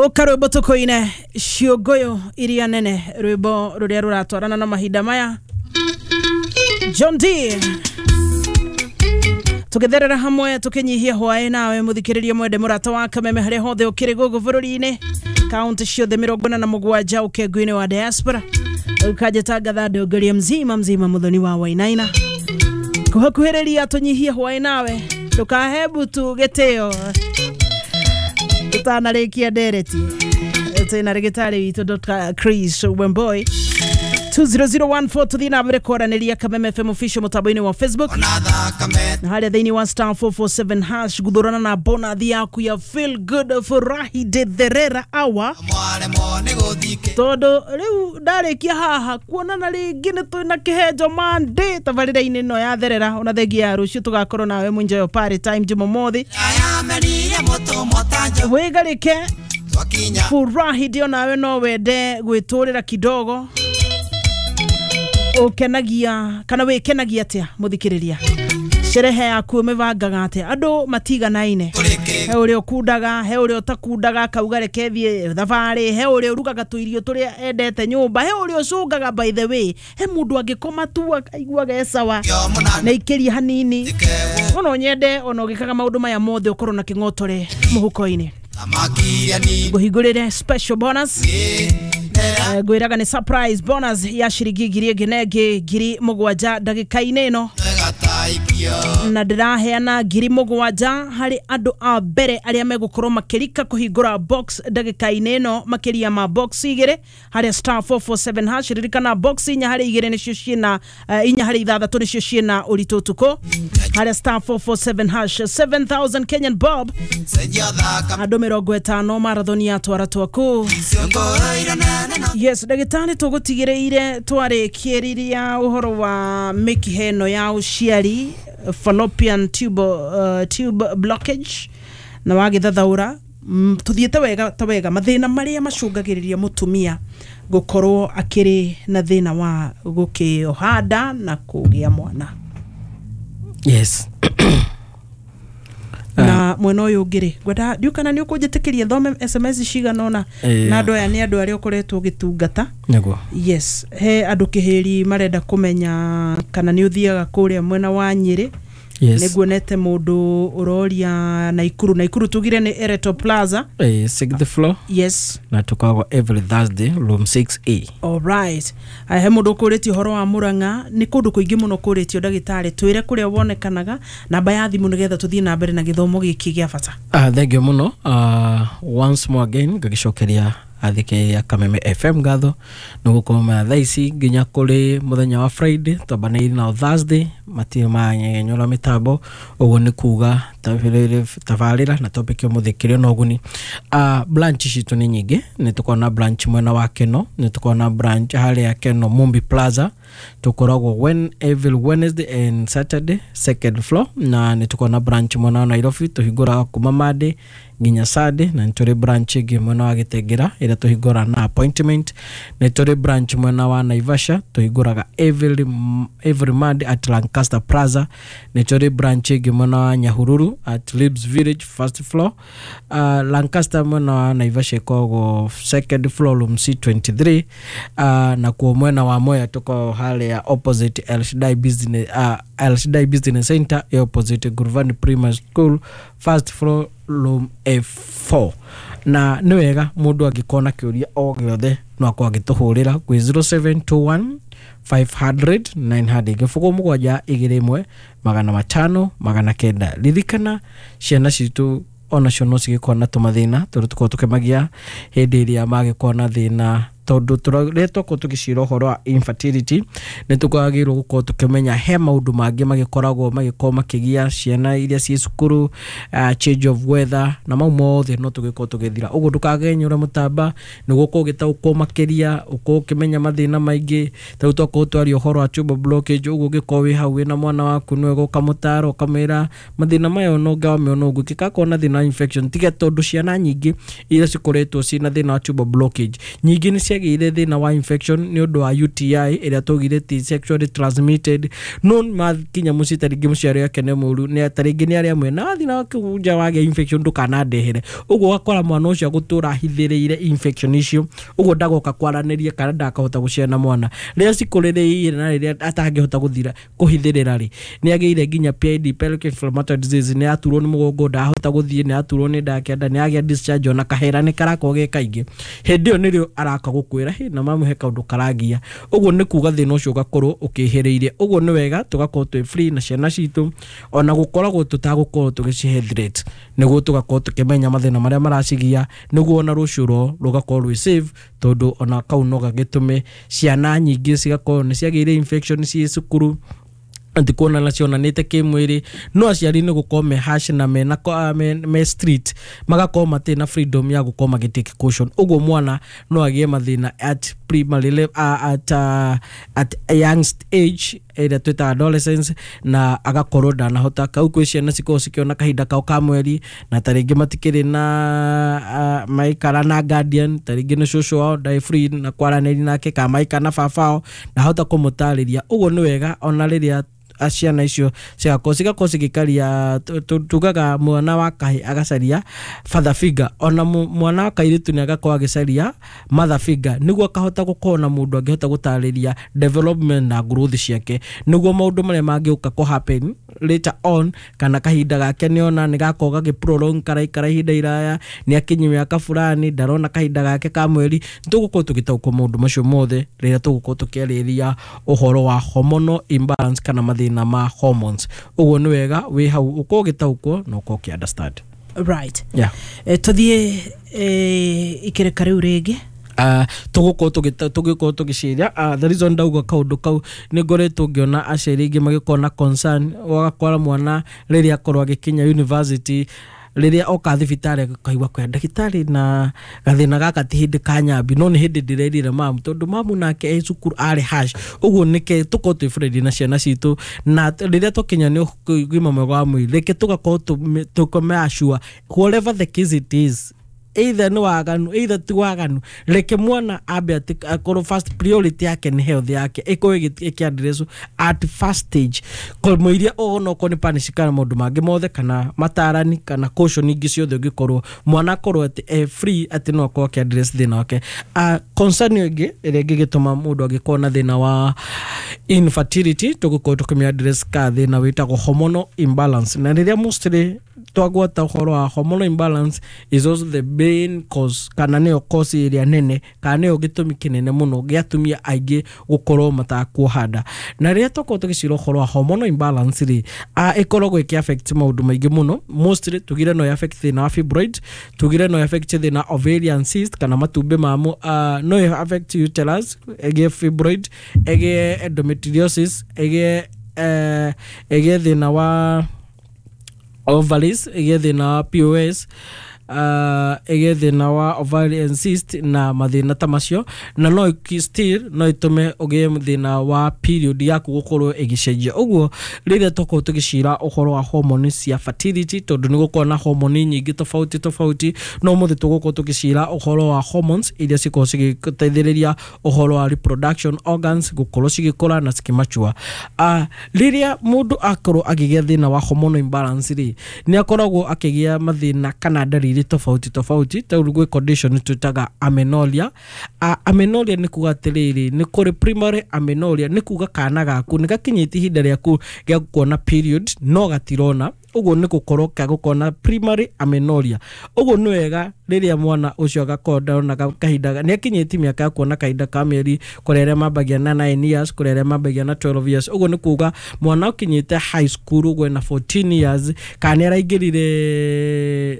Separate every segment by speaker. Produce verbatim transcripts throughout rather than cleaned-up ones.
Speaker 1: Ũka rwĩmbo tũkũine ciũngũyũ iria nene, rwĩmbo rũrĩa rũratwarana na mahinda maya. John D tũgĩtherera hamwe tũkĩnyihia hwaĩ nawe mũthikĩrĩria mwende mũrata wa Kameme harĩa hothe ũkĩrĩ gũkũ bũrũri-inĩ, kaunti ciothe mĩrongo ĩna na mũgwanja ũkengu-inĩ wa diaspora. Ũkanjĩtangatha ndongoria mzima mzima mũthoni wa Wainaina kũhakuhĩrĩria tũnyihie hwaĩ nawe, ndũkahe mbutu gĩtĩo tũtanarĩkia ndereti. Twĩna rĩgĩtarĩ witũ Doctor Chris Wemboi two zero zero one four. Tuthiĩ na mbere kwaranĩria Kameme F M official mũtambo-inĩ wa Facebook na harĩa thĩinĩ wa star four four seven hash guthurana na bonathi yaku ya feel good furahi de therera hour, tondu riu ndarikia haha kuonana ringi ni twina kihenjo Monday tabarĩra-inĩ ĩno ya therera. Ona thengia ya rũciũ tũgakorwo nawe mũnjoyo party time Jumamothi wĩgarĩke furahi ndio nawe no wende gwĩtũrĩra kidogo ukenagia kana wikenagia atia muthikiriria sherehe yaku mibangaga atia andu matiganaine he uria ukundaga he uria utakundaga kauga reke thie thabari he uria urugaga tuirio turia endete nyumba he uria ucungaga by the way he mundu angikoma tu akaiguaga e sawa na ikiria hanini ono nyende ono gikaga maundu maya mothe ukorwo na king'otore muhuko-ini nguhingurire special bonus ngwiraga ni surprise bonus ya ciringi ngiri ĩngĩ na ĩngĩ ngiri mũgwanja ndagĩka-inĩ ĩno na ndĩraheana ngiri mũgwanja harĩ andũ a mbere arĩa megũkorwo makĩrika kũhingũra box ndagĩka-inĩ ĩno makĩria ma box igĩrĩ harĩa star four four seven hash. Ririkana box inya harĩ igĩrĩ nĩcio ciĩna uh, inya harĩ ithathatũ nĩcio ciĩna ũritũ ũtukũ harĩa star four four seven hash seven thousand Kenyan bob andũ mĩrongo ĩtano marathon ya twara twaku. Yes, ndagĩtarĩ tũgũtigĩrĩire twarĩkĩrĩria ũhoro wa mĩkiha ĩno ya ũciari fallopian tube, uh, tube blockage na wagĩthathaũra mm, tũthiĩte wega ta wega mathĩna marĩa macũngagĩrĩria mũtumia gũkorwo akĩrĩ na thĩna wa gũkĩoha nda na kũgĩa mwana.
Speaker 2: Yes.
Speaker 1: Na mwena ũyũ ũngĩ rĩ ngwenda ndiũ kana nĩ ũkũnjĩtĩkĩria thome S M S cigana ũna na andũ aya nĩ andũ arĩa ũkoretwo ũgĩtungata.
Speaker 2: Nĩguo.
Speaker 1: Yes, he andũ kĩhĩri marenda kũmenya kana nĩ ũthiaga kũrĩa mwena wa Nyĩrĩ.
Speaker 2: Yes.
Speaker 1: Nĩguonete mũndũ ũroria Naikuru. Naikuru tugire nĩ Ereto Plaza.
Speaker 2: Eh, sixth floor.
Speaker 1: Yes.
Speaker 2: Na tukoragwo every Thursday room six A.
Speaker 1: All right. He mũndũ ũkũrĩtie ũhoro wa Murang'a nĩ kũndũ kũingĩ mũno kũrĩtio ndagĩtarĩ twĩre kũrĩa wonekanaga namba ya thimũ nĩgetha tũthiĩ na mbere na gĩthomo gĩkĩ gĩa bata.
Speaker 2: Ah, thank you mũno. Uh, once more again ngagĩcokeria athikĩrĩria Kameme F M ngatho nĩ gũkorwo ma thaa ici nginya kũrĩ mũthenya wa Friday twambanĩirie nao Thursday matirĩ manyegenyũra mĩtambo ũguo nĩ kuga tabarĩra na topic ũmũthĩ kĩrĩ na ũguni. Uh, branch citũ nĩ nyingĩ nĩ tũkoragwo na branch mwena wa Keno nĩ tũkoragwo na branch harĩa Keno Mumbi Plaza tũkoragwo when every Wednesday and Saturday second floor na nĩ tũkoragwo na branch mwena wa Nairobi tũhingũraga kuma Monday nginya Sunday na nĩ tũrĩ branch ĩngĩ mwena wa Gĩtengera ĩrĩa tũhingũraga na appointment nĩ tũrĩ branch mwena wa Naivasha tũhingũraga every, every Monday at Lancaster Plaza nĩ tũrĩ branch ĩngĩ mwena wa Nyahururu at Libs Village first floor uh, Lancaster mwena wa Naivasha ĩkoragwo second floor room C twenty-three uh, na kuo mwena wa Mwea tuko harĩa opposite El Shaddai Business, uh, El Shaddai Business Center opposite Guruvani Primary School first floor room F four. Na nĩ wega mũndũ angĩkorwo na kĩũria o gĩothe no akorwo agĩtũhũrĩra kwĩ zero seven two one five hundred nine hundred gĩbũgũ mũgwanja igĩrĩ ĩmwe magana matano magana kenda. Ririkana ciana citũ onacio no cigĩkorwo na tũmathĩna tũrĩa tũkoragwo tũkĩmagia hĩndĩ ĩrĩa magĩkorwo na thĩna tondũ rĩrĩa twakorwo tũgĩcira ũhoro wa infertility nĩ tũkwagĩrĩirwo gũkorwo tũkĩmenya he maũndũ mangĩ magĩkoragwo magĩkorwo makĩgia ciana iria ciĩ cukuru uh, change of weather na mau mothe no tũgĩkorwo tũgĩthira ũguo ndũkagenyũre mũtamba nĩguo ũkorwo ũgĩtaũkwo makĩria ũkorwo ũkĩmenya mathĩna maingĩ ta rĩu twakorwo twaria ũhoro wa tubal blockage ũguo ũngĩkorwo wĩ hau wĩna mwana waku nĩ wega ũkamũtara ũkamwĩra mathĩna maya ona ũngĩamĩona ũguo kĩkakorwo na thĩna wa infection tiga tondũ ciana nyingĩ iria cikoretwo ciĩna thĩna wa tubal blockage nyingĩ nĩ ciagĩire thĩna wa infection nĩ ũndũ wa U T I ĩrĩa twaugire ti sexually transmitted, no makinya mũciĩ ta rĩngĩ mũciari wake nĩ mũru, nĩ ta rĩngĩ nĩ arĩa mwena wathiĩ na kũu nja wagĩa infection ndũkanandehere. Ũguo ũgakora mwana ũcio agũtũra ahithĩrĩire infection icio, ũguo ndagoka kwaranĩria kana ndakahota gũciara mwana. Rĩrĩa cikũrĩrĩire na rĩrĩa atangĩhota gũthira kũhithĩrĩra rĩ, nĩ agĩire nginya P I D, pelvic inflammatory disease, nĩ aturwo nĩ mũgongo, ndahota gũthiĩ, nĩ aturwo nĩ nda kĩanda, nĩ agĩa discharge ona kahera nĩ karakorwo ge kaingĩ. Hĩndĩ ĩyo nĩrĩo araka gũkwĩra hĩ na mamu he kaũndũ karagia. Ũguo nĩ kuga thĩna ũcio ũgakorwo ũkĩhĩrĩirie. Ũguo nĩ wega tũgakorwo twĩ free na ciana citũ, ona gũkoragwo tũtagũkorwo tũgĩcihe threat, nĩguo tũgakorwo tũkĩmenya mathĩna marĩa maracigia, nĩguo ona rũciũ rwao rũgakorwo rwĩ safe, tondũ ona kau no gagĩtũme ciana nyingĩ cigakorwo nĩ ciagĩire infection ciĩ cukuru, atĩ kuona na cionanĩte kĩmwĩrĩ. No aciari nĩ gũkorwo me harsh na me na me, me street, magakorwo matirĩ na freedom ya gũkorwo magĩ take caution. Ũguo mwana no agĩe mathĩna at primary level, uh, at, uh, at a young age ĩrĩa twĩtaga adolescence, na agakorwo ndanahota. Kau kwĩ ciana cikoragwo cikĩona kahinda kao ka mweri, na ta rĩngĩ matikĩrĩ na uh, maikara na guardian, ta rĩngĩ nĩ cũcũ wao ndarĩ free na kwaranĩria nake, kana maikara na baba wao ndahota kũmũtarĩria. Ũguo nĩ wega ona rĩrĩa ciana icio cigakorwo cigakorwo cigĩkaria, tugaga mwana wa kahĩ agacaria father figure, ona mwana wa kairĩtu nĩ agakorwo agĩcaria mother figure, nĩguo akahota gũkorwo na mũndũ angĩhota gũtarĩria development na growth ciake, nĩguo maũndũ marĩa mangĩũka kũ happen later on, kana kahinda gake nĩona nĩ gakorwo gagĩ prolong karaikara ihinda iraya, nĩ akinyi mĩaka fulani ndarona kahinda gake ka mweri. Tũgũkorwo tũgĩtaũkwo maũndũ macio mothe rĩrĩa tũgũkorwo tũkĩarĩrĩria ũhoro wa hormonal imbalance kana mathĩna ma hormones. Ũguo nĩ wega wĩ hau ũkorwo ũgĩtaũkwo na ũkorwo ũkĩ understand.
Speaker 1: Right.
Speaker 2: Yeah.
Speaker 1: E, tũthiĩ e, ikĩrĩka rĩu rĩngĩ.
Speaker 2: Uh, tũgũkorwo tũgĩkorwo tũgĩciria uh, the reason ndauga kaũndũ kau nĩ ngoretwo ngĩona aciari aingĩ magĩkorwo na concern, ũgakora mwana rĩrĩa akorwo agĩkinya university, rĩrĩa oka thibitarĩ akaigua kwĩ ndagĩtarĩ na gathĩna gaka ti hĩndĩ ka nyambi, no nĩ hĩndĩ ndĩrerire mamu, tondũ mamu nake e cukuru arĩ harsh. Ũguo nĩke tũkorwo twĩ friendly na ciana citũ, na rĩrĩa twakinya nĩ ũgima mwega wa mwĩrĩ, reke tũgakorwo tũkome assure whatever the case it is, either nĩ waganu either ti waganu, reke mwana ambe atĩ akorwo first priority yake nĩ health yake ĩkorwo ĩkĩ address at first stage, kũmũiria onokorwo nĩ punish kana maũndũ mangĩ mothe, kana matarani kana caution ingĩ ciothe, ũngĩkorwo mwana akorwo atĩ e free atĩ no akorwo akĩ address thĩna wake. Uh, concern ĩngĩ ĩrĩa ĩngĩgĩtũma mũndũ angĩkorwo na thĩna wa infertility, tũgũkorwo tũkĩmĩ address ka thĩna wĩtagwo hormonal imbalance. Na rĩrĩa mostly twagwata ũhoro wa hormonal imbalance is also the main cause, kana nĩyo cause ĩrĩa nene, kana nĩyo gĩtũmi kĩnene mũno gĩa atumia aingĩ gũkorwo matakuoha nda. Na rĩrĩa twakorwo tũgĩcira ũhoro wa hormonal imbalance rĩ, ĩkoragwo ĩkĩ affect maũndũ maingĩ mũno. Mostly tugire no affect thĩna wa fibroid, tugire no affect thĩna ovarian cyst kana matumbĩ mamo, uh, no affect uterus, ĩgĩe fibroid, ĩgĩe endometriosis, ĩgĩe uh, ĩgĩe thĩna wa ovaries, ĩgĩe thĩna wa P O S, uh, ĩgĩe thĩna wa ovarian cyst na mathĩna ta macio. Na no still no ĩtũme ũgĩe thĩna wa period yaku gũkorwo ĩgĩcenjia. Ũguo rĩrĩa tũkorwo tũgĩcira ũhoro wa hormone cia fertility, tondũ nĩ gũkorwo na hormone nyingĩ tofauti tofauti, no ũmũthĩ tũgũkorwo tũgĩcira ũhoro wa hormones iria cikorwo cigĩteithĩrĩria ũhoro wa reproduction organs gũkorwo cigĩkũra na cikĩmature. Uh, rĩrĩa mũndũ akorwo akĩgĩa thĩna wa hormonal imbalance rĩ, nĩ akoragwo akĩgĩa mathĩna kana ndariri tofauti tofauti. Ta rĩu gwĩ condition twĩtaga amenorrhea. Uh, amenorrhea nĩ kuga atĩrĩrĩ, nĩ kũrĩ primary amenorrhea, nĩ kuga kana gaku nĩ gakinyĩte ihinda rĩaku rĩa kuona period no gatirona. Ũguo nĩ gũkorwo ka gũkorwo na primary amenorrhea. Ũguo nĩ wega rĩrĩa mwana ũcio agakorwo ndona kahinda, nĩ akinyĩtie mĩaka ya kuona kahinda ka mĩeri, kũrĩ arĩa mambagia na nine years, kũrĩ arĩa mambagia na twelve years. Ũguo nĩ kuga mwana ũkinyĩte high school ũguo na fourteen years, kana nĩ araingĩrire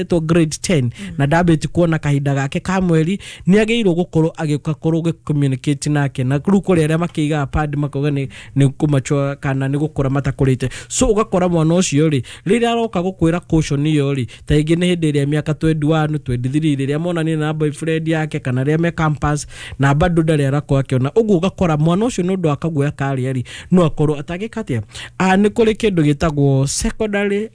Speaker 2: to grade ten na ndambĩti kuona kahinda gake ka mweri, nĩ agĩrĩirwo gũkorwo agĩkorwo gĩ-communicate nake. Na rĩu kũrĩ arĩa makĩigaga pad makauga nĩ nĩ kũmachua kana nĩ gũkũra matakũrĩte. So ũgakora mwana ũcio rĩ, rĩrĩa aroka gũkwĩra caution ĩyo rĩ, ta rĩngĩ nĩ hĩndĩ ĩrĩa mĩaka twenty-one, twenty-three, rĩrĩa monanire na boyfriend yake kana rĩrĩa me campus na bado ndarĩ arakorwo akĩona. Ũguo ũgakora mwana ũcio nĩ ũndũ wa kaguoya karĩa rĩ, no akorwo atangĩka atĩa. Ah, nĩ kũrĩ kĩndũ gĩtagwo secondary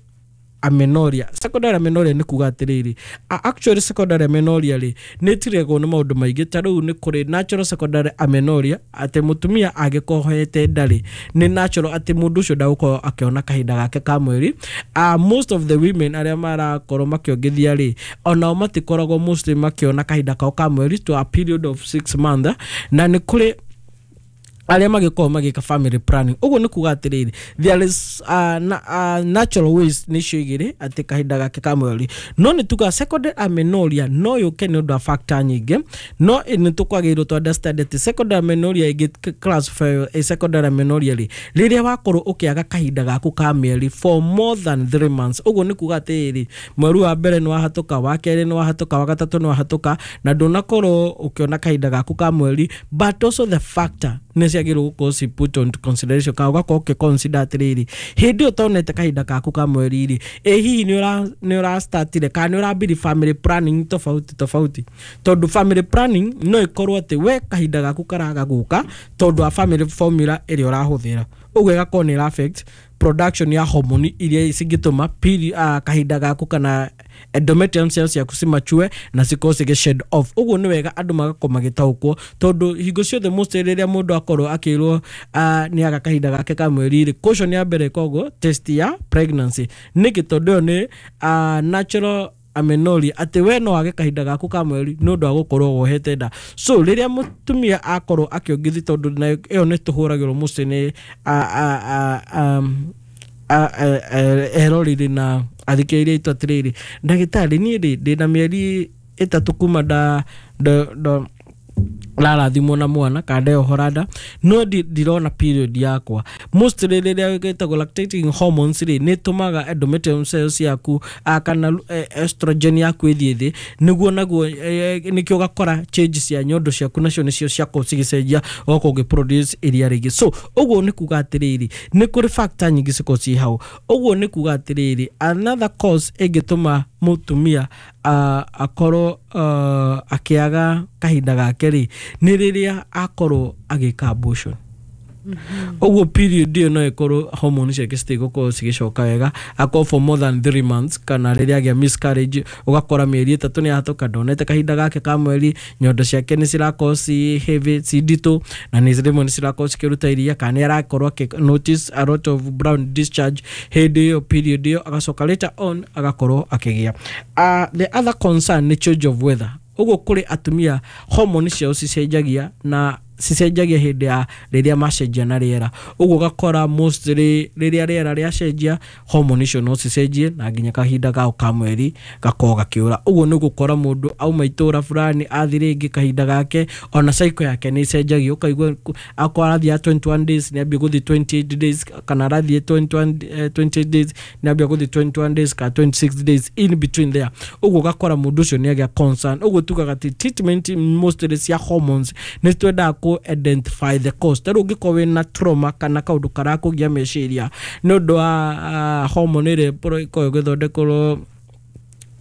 Speaker 2: amenorrhea. Secondary amenorrhea nĩ kuga atĩrĩrĩ, actually secondary amenorrhea rĩ nĩ ĩtiragwo nĩ maũndũ maingĩ. Ta rĩu nĩ kũrĩ natural secondary amenorrhea, atĩ mũtumia angĩkorwo ohete nda rĩ, nĩ natural atĩ mũndũ ũcio ndagũkorwo akĩona kahinda gake ka mweri. uh, most of the women arĩa marakorwo makĩongithia rĩ, onao matikoragwo mostly makĩona kahinda kao ka mweri to a period of six months. Na nĩ kũrĩ arĩa magĩkorwo magĩka family planning. Ũguo nĩ kuga atĩrĩrĩ, there is uh, na, uh, natural ways nĩcio igĩrĩ atĩ kahinda gake ka mweri. No nĩ tuga secondary amenorrhea no yũke nĩ ũndũ wa factor nyingĩ, no nĩ tũkwagĩrĩirwo tũ understand atĩ secondary amenorrhea ĩngĩ classify a secondary amenorrhea rĩ, rĩrĩa wakorwo ũkĩaga kahinda gaku ka mĩeri for more than three months. Ũguo nĩ kuga atĩrĩrĩ, mweri wa mbere nĩ wahatũka, wa kerĩ nĩ wahatũka, wa gatatũ nĩ wahatũka, na ndũnakorwo ũkĩona kahinda gaku ka mweri. But also the factor nĩ ciagĩrĩirwo gũkorwo ci put on consideration, kana ũgakorwo ũkĩ consider atĩrĩrĩ, hĩndĩ ĩyo ũtonete kahinda gaku ka mweri rĩ, ĩ hihi nĩ ũra nĩ ũrastartire kana nĩ ũrambiri family planning tofauti tofauti? Tondũ family planning no ĩkorwo atĩ we kahinda gaku karaga gũka tondũ wa family formula ĩrĩa ũrahũthĩra, ũguo ĩgakorwo nĩ ĩra affect production ya hormone iria cingĩtũma peri, uh, kahinda gaku kana endometrium cells ciaku cimachue na cikorwo cigĩ shed off. Ũguo nĩ wega andũ magakorwo magĩtaũkwo, tondũ hingo ciothe most rĩrĩa mũndũ akorwo akĩrwo uh, nĩ aga kahinda gake ka mweri rĩ, caution ya mbere ĩkoragwo test ya pregnancy. Nĩkĩ? Tondũ ĩyo nĩ uh, natural amenorrhea, atĩ we no wage kahinda gaku ka mweri nĩ ũndũ wa gũkorwo wohete nda. So rĩrĩa mũtumia akorwo akĩongithia, tondũ nayo ĩyo nĩ tũhũragĩrwo mũciĩ nĩ um, eroreri na athikĩrĩria aitũ atĩrĩrĩ, ndagĩtarĩ, niĩ rĩ ndĩna mĩeri ĩtatũ kuma nda nda rarathimwo na mwana kana ndeohora nda, no ndirona period yakwa. Mostly rĩrĩa gĩtagwo lactating hormones rĩ, nĩ ĩtũmaga endometrium cells ciaku kana estrogen yaku ĩthiĩ thĩ, nĩguo naguo nĩkĩo ũgakora change cia nyondo ciaku nacio nĩcio ciakorwo cigĩcenjia, ũgakorwo ũgĩ produce iria rĩingĩ. So ũguo nĩ kuga atĩrĩrĩ, nĩ kũrĩ factor nyingĩ cikorwo ciĩ hau. Ũguo nĩ kuga atĩrĩrĩ, another cause ĩngĩtũma mũtumia uh, akorwo uh, akĩaga kahinda gake rĩ, nĩ rĩrĩa akorwo agĩka abortion. Ũguo period ĩyo no ĩkorwo hormone ciake citigũkorwo cigĩcoka wega akorwo for more than three months, kana rĩrĩa agĩa miscarriage, ũgakora mĩeri ĩtatũ nĩ yahĩtũka ndonete kahinda gake ka mweri, nyondo ciake nĩ cirakorwo ci heavy, ci nditũ, na nĩ rĩmwe nĩ cirakorwo cikĩruta iria, kana nĩ arakorwo akĩ notice a lot of brown discharge hĩndĩ ĩyo period ĩyo, agacoka later on agakorwo akĩgĩa. uh, the other concern nĩ change of weather. Ũguo kũrĩ atumia hormone ciao cicenjagia na cicenjagia hĩndĩ ya rĩrĩa macenjia na rĩera. Ũguo ũgakora mostly rĩrĩa rĩera rĩacenjia, hormone icio no cicenjie na nginya kahinda kao ka mweri gakorwo gakĩũra. Ũguo nĩ gũkora mũndũ auma itũra fulani athi rĩngĩ, kahinda gake ona cycle yake nĩ icenjagia. Ũkaigua akorwo arathiĩ twenty-one days nĩ ambia gũthiĩ twenty-eight days, kana arathiĩ twenty-one, twenty-eight days nĩ ambia gũthiĩ twenty-one days kana twenty-six days in between there. Ũguo ũgakora mũndũ ũcio nĩ agĩa concern. Ũguo tugaga atĩ treatment mostly cia hormones nĩ twendaga kũ identify the cause. Ta rĩu ũngĩkorwo wĩna trauma kana kaũndũ karakũgia meciria nĩ ũndũ wa uh, hormone ĩrĩa ĩkoragwo ĩgĩthondekerwo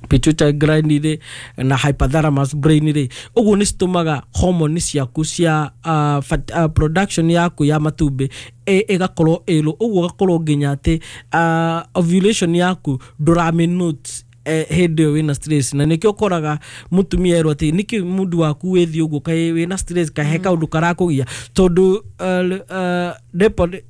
Speaker 2: pituitary gland rĩ na hypothalamus brain rĩ, ũguo nĩ citũmaga hormone ciaku cia uh, fat, uh, production yaku ya matumbĩ ĩgakorwo ĩrũ. Ũguo ũgakorwo nginya atĩ uh, ovulation yaku ndũramĩ note hĩndĩ ĩyo wĩna stress. Na nĩkĩo ũkoraga mũtumia erwo atĩ nĩkĩ mundu waku wĩthiĩ ũguo, kaĩ wĩna stress, kaĩ he kaũndũ karakũgia? Tondũ uh, uh, depot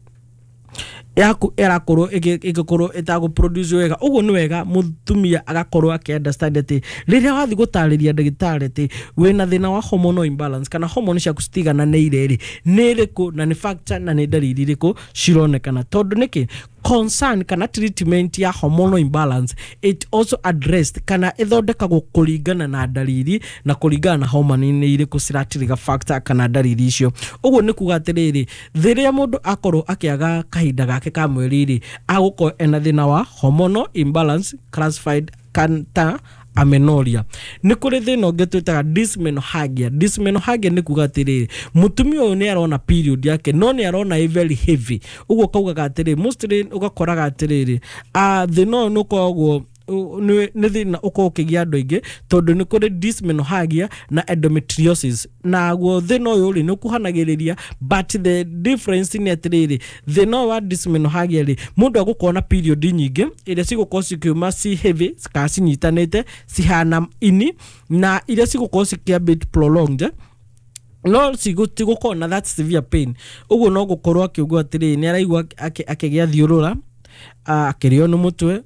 Speaker 2: yaku ĩrakorwo ĩgĩkorwo ĩtagũ produce wega. Ũguo nĩ wega mũtumia agakorwo akĩ understand atĩ rĩrĩa wathiĩ gũtarĩria ndagĩtarĩ atĩ wĩna thĩna wa hormonal imbalance kana hormone ciaku citigananĩire rĩ, nĩ ĩrĩkũ na nĩ factor na nĩ ndariri irĩkũ cironekana? Tondũ nĩkĩ concern kana treatment ya hormonal imbalance, it also addressed kana ĩthondekagwo kũringana na ndariri na kũringana na hormone nĩ irĩkũ ciratrigger factor kana ndariri icio. Ũguo nĩ kuga atĩrĩrĩ, rĩrĩa mũndũ akorwo akĩaga kahinda gake ka mweri rĩ, agũkorwo ena thĩna wa hormonal imbalance classified ta amenorrhea. Nĩ kũrĩ thĩna ũngĩ twĩtaga dysmenorrhagia. Dysmenorrhagia nĩ kuga atĩrĩrĩ, mũtumia ũyũ nĩ arona period yake no nĩ arona ĩ very heavy. Ũguo kaugaga atĩrĩrĩ, mostly ũgakoraga atĩrĩrĩ, uh, thĩna ũyũ nĩ ũkoragwo nĩ thĩna ũkoragwo ũkĩgia andũ aingĩ tondũ nĩ kũrĩ dysmenorrhagia na endometriosis. Naguo thĩna ũyũ rĩ nĩ ũkuhanagĩrĩria, but the difference nĩ atĩrĩrĩ, thĩna ũyũ wa dysmenorrhagia rĩ, mũndũ egũkorwo na period nyingĩ iria cigũkorwo cikiuma ci heavy kana cinyitanĩte cihana ini, na iria cigũkorwo cikĩa bit prolonged, no tigũkorwo na that severe pain. Ũguo no gũkorwo akiuga atĩrĩrĩ nĩ araigua akĩgĩa thiũrũra, akĩrĩo nĩ mũtwe,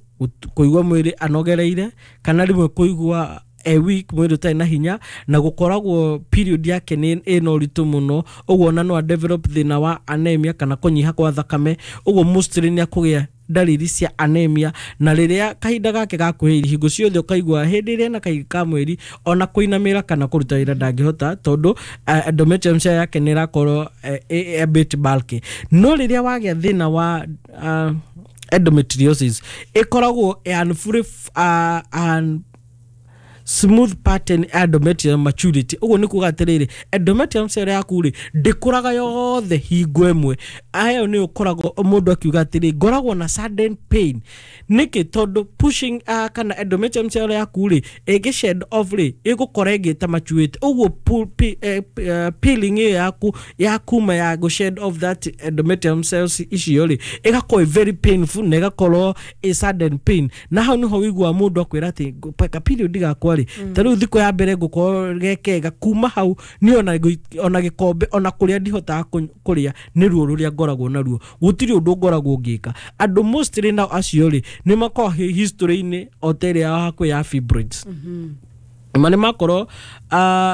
Speaker 2: kũigua mwĩrĩ anogereire, kana rĩmwe kũigua a week mwĩrĩ ũtarĩ na hinya, na gũkoragwo period yake nĩ ĩna ũritũ mũno. Ũguo ona no a develop thĩna wa anemia kana kũnyiha kwa thakame. Ũguo mostly nĩ akũgĩa ndariri cia anemia, na rĩrĩa kahinda gake gakuhĩrĩria hingo ciothe ũkaigua hĩndĩ ĩrĩa ena kahinda ka mweri ona kũinamĩra kana kũruta wĩra ndangĩhota, tondũ endometrium cell yake nĩ ĩrakorwo a bit bulky. No rĩrĩa wagĩa thĩna wa uh, endometriosis, ĩkoragwo unfully uh, un smooth pattern endometrium maturity. Ũguo nĩ kuga atĩrĩrĩ, endometrium cell yaku rĩ ndĩkũraga yothe hingo ĩmwe. Ayo nĩ ũkoragwo mũndũ akiuga atĩrĩ, ngoragwo na sudden pain. Nĩkĩ? Tondũ pushing uh, kana endometrium cell yaku rĩ ĩngĩ shed off rĩ ĩgũkora ĩngĩ ta maturity. Ũguo eh, peeling ĩyo yaku ya kuma ya go shed off that endometrium cells icio rĩ ĩgakorwo very painful na ĩgakorwo a sudden pain. Na hau nĩho wĩiguaga mũndũ akwĩra atĩ ka period gakwa rĩ ta rĩu thikũ ya mbere ngũkorwo gekega, kuma hau niĩ ona ona gĩkombe ona kũrĩa ndihotaga kũrĩa nĩ ruo rũrĩa ngoragwo naruo, gũtirĩ ũndũ ngoragwo ngĩka. Andũ mostly nao acio rĩ nĩ makoragwo history-inĩ o ta ĩrĩa ya hakuhĩ ya fibroids. Ma nĩ makorwo uh,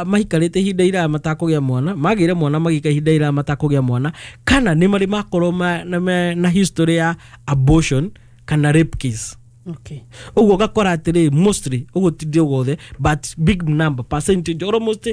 Speaker 2: mahikarĩte ihinda iraya matakũgĩa mwana, magĩire mwana magĩika ihinda iraya matakũgĩa mwana, kana nĩ marĩ makorwo ma, na, na history ya abortion kana rape case.
Speaker 1: Okay.
Speaker 2: Ũguo ũgakora atĩrĩ mostly, ũguo ti ndĩ wothe, but big number percentage almost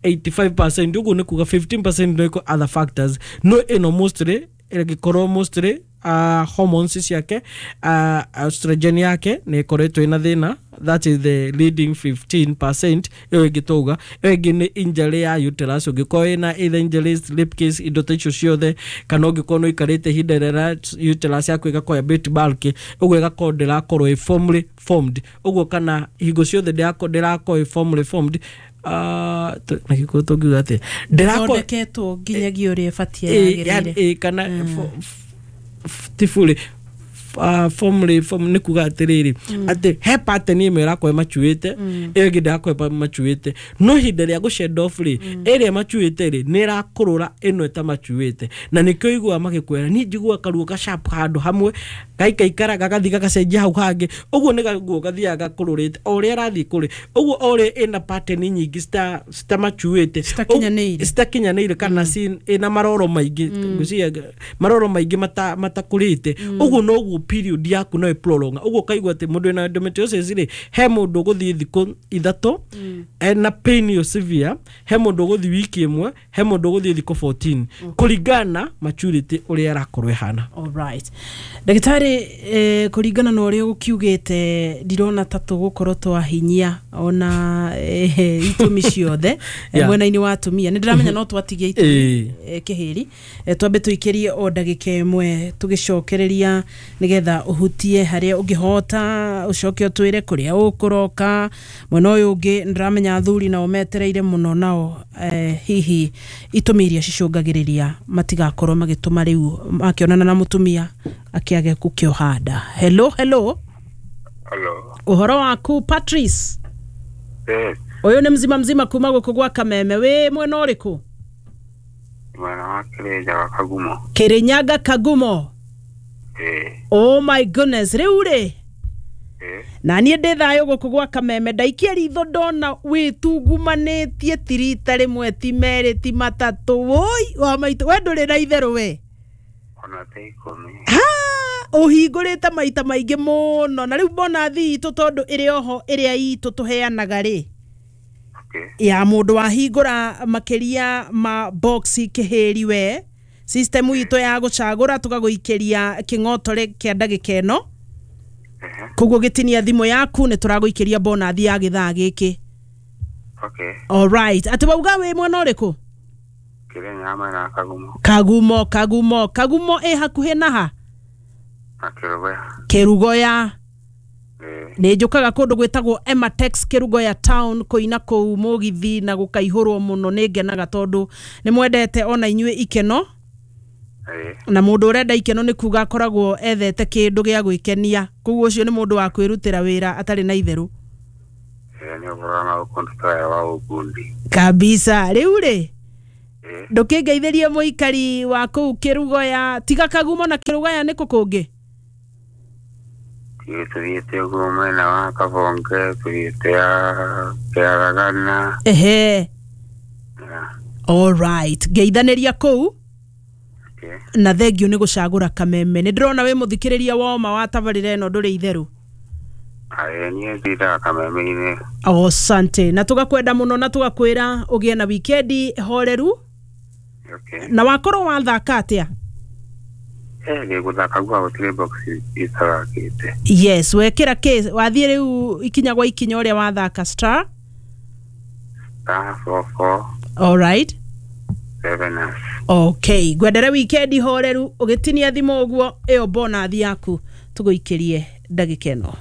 Speaker 2: eighty-five percent, ũguo nĩ kuga fifteen percent no other factors, no ĩno mostly ĩngĩkorwo mostly uh, hormones ciake, uh, estrogen yake nĩ ĩkoretwo ĩna thĩna, that is the leading fifteen percent. Ĩyo ĩngĩ twauga, ĩyo ĩngĩ nĩ injury ya uterus, ũngĩkorwo ĩna either injuries, rape case, indo ta icio ciothe, kana ũngĩkorwo nĩ ũikarĩte ihinda rĩrĩa uterus yaku ĩgakorwo a bit bulky, ũguo ĩgakorwo ndĩrakorwo ĩ firmly formed, ũguo kana hingo ciothe ndĩrakorwo ĩ firmly formed, uh, na gĩkũyũ tũngiuga atĩa,
Speaker 1: ndĩrathondeketwo nginyagia ũrĩa ĩbatiĩ yagĩrĩire,
Speaker 2: kana ti fully uh, formally form nĩ kuga atĩrĩrĩ atĩ he pattern ĩmwe ĩrakorwo ĩmacuĩte, ĩyo ĩngĩ ndĩrakorwo ĩmacuĩte, no ihinda rĩa gũshed off rĩ ĩrĩa ĩmacuĩte rĩ nĩ ĩrakũrũra ĩno ĩtamacuĩte, na nĩkĩo ũiguaga magĩkwĩra niĩ njiguaga karuo ga sharp handũ hamwe gaikaikara gagathiĩ gagacenjia hau hangĩ, ũguo nĩ gaguo gathiaga gakũrũrĩte o ũrĩa arathiĩ kũrĩ ũguo, o ũrĩa ĩna pattern nyingĩ citamacuĩte
Speaker 1: citakinyanĩire
Speaker 2: citakinyanĩire kana ĩna maroro maingĩ, ngwĩciria maroro maingĩ matakũrĩte, ũguo noguo period yaku no ĩprolonga. Ũguo ũkaigua atĩ mũndũ wĩna endometriosis rĩ he mũndũ ũgũthiĩ thikũ ithatũ ena pain ĩyo severe, he mũndũ ũgũthiĩ wiki ĩmwe, he mũndũ ũgũthiĩ thikũ fourteen, kũringana na maturity ũrĩa ĩrakorwo ĩhana.
Speaker 1: Alright. Ndagĩtarĩ, eh, kũringana na ũrĩa ũkiugĩte ndirona ta tũgũkorwo twahinyia ona eh, itũmi ciothe
Speaker 2: Yeah.
Speaker 1: mwena-inĩ wa atumia. Nĩ ndĩramenya no twatigie itũmi eh, kĩhĩri, eh, twambe tũikĩrie o ndagĩka ĩmwe tũgĩcokereria nĩgetha ũhutie harĩa ũngĩhota, ũcoke ũtwĩre kũrĩa ũkũroka. Mwena ũyũ ũngĩ nĩndĩramenya athuri nao metereire mũno nao, eh, hihi itũmi iria cicũngagĩrĩria matigakorwo magĩtũma rĩu makĩonana na mũtumia akĩage gũkĩoha nda. Hello, hello.
Speaker 3: Hello.
Speaker 1: Ũhoro waku Patrice?
Speaker 3: Yes.
Speaker 1: Ũyũ nĩ mzima mzima kuma gũkũ gwa Kameme. Wĩ mwena ũrĩkũ?
Speaker 3: Mwena wa Kĩrĩnyaga Kagumo.
Speaker 1: Kĩrĩnyaga Kagumo.
Speaker 3: Eh.
Speaker 1: Oh my goodness, rĩu rĩ
Speaker 3: Eh.
Speaker 1: na niĩ ndĩ thayũ gũkũ gwa Kameme, ndaikia ritho ndona wĩtungumanĩtie ti rita rĩmwe ti merĩ ti matatũ, woi wa maitũ, we ndũrĩ na itherũ we.
Speaker 3: Ona ta ikũmi.
Speaker 1: Ha, ũhingũrĩte maita maingĩ mũno, na rĩu bonathi itũ tondũ ĩrĩ oho ĩrĩa itũ tũheanaga rĩ
Speaker 3: Okay.
Speaker 1: ya mũndũ wahingũra makĩria ma box kĩhĩri we system itũ ya gũcagũra tũgagũikĩria kĩng'otore kĩa ndagĩka ĩno, koguo gĩtinia thimũ yaku nĩ tũragũikĩria bonathi ya gĩthaa gĩkĩ.
Speaker 3: Okay.
Speaker 1: Alright, atĩ wauga wĩ mwena ũrĩkũ?
Speaker 3: Kĩrĩnyaga mwena wa Kagumo.
Speaker 1: Kagumo, Kagumo, Kagumo ĩ hakuhĩ na ha?
Speaker 3: Na Kĩrũgoya.
Speaker 1: Kĩrugoya.
Speaker 3: Ĩĩ.
Speaker 1: Nĩ njũkaga kũndũ gwĩtagwo Ematex Kĩrugoya town kũina kũu mũgithi na gũkaihũrwo mũno. Nĩ ngenaga tondũ nĩ mwendete ona inyuĩ ikeno.
Speaker 3: Ĩĩ.
Speaker 1: Na mũndũ ũrenda ikeno nĩ kuga akoragwo ethete kĩndũ gĩa gwĩkenia, koguo ũcio nĩ mũndũ wa kwĩrutĩra wĩra atarĩ na itherũ.
Speaker 3: Ĩĩ, nĩ ũhoro na ũkũndutaya wa ũbundi.
Speaker 1: Kabisa. Rĩu rĩ,
Speaker 3: Ĩĩ.
Speaker 1: ndũkĩngeithĩrie mũikari wa kũu Kĩrugoya, tiga Kagumo na Kĩrugoya nĩ kũ kũngĩ?
Speaker 3: Ĩĩ, tũthiĩte ũguo mwena wa Kabonge, tũthiĩte ya Kĩaragana.
Speaker 1: Ehe.
Speaker 3: Yeah.
Speaker 1: Alright, ngeithanĩria kũu.
Speaker 3: Okay.
Speaker 1: Na thengio nĩ gũcagũra Kameme. Nĩ ndĩrona wĩ mũthikĩrĩria woma wa tabarĩra ĩno, ndũrĩ itherũ.
Speaker 3: Ĩĩ, niĩ ndindaga Kameme-inĩ.
Speaker 1: Asante, na tũgakwenda mũno na tũgakwĩra ũgĩe na wikendi horeru.
Speaker 3: Okay.
Speaker 1: Na wakorwo wathaka atĩa?
Speaker 3: Eh, ndĩ gũthaka gua gũtirĩ box itathakĩte.
Speaker 1: Yes, wekĩra kĩ wathiĩ rĩu ikinya gwa ikinya ũrĩa wathaka star
Speaker 3: Star four four
Speaker 1: alright
Speaker 3: seven hash.
Speaker 1: Okay, ngwendere wikendi horeru. Ũgĩtinia thimũ ũguo, ĩyo bonathi yaku tũgũikĩrie ndagĩka ĩno.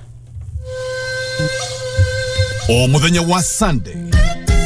Speaker 4: O muthenya wa Sunday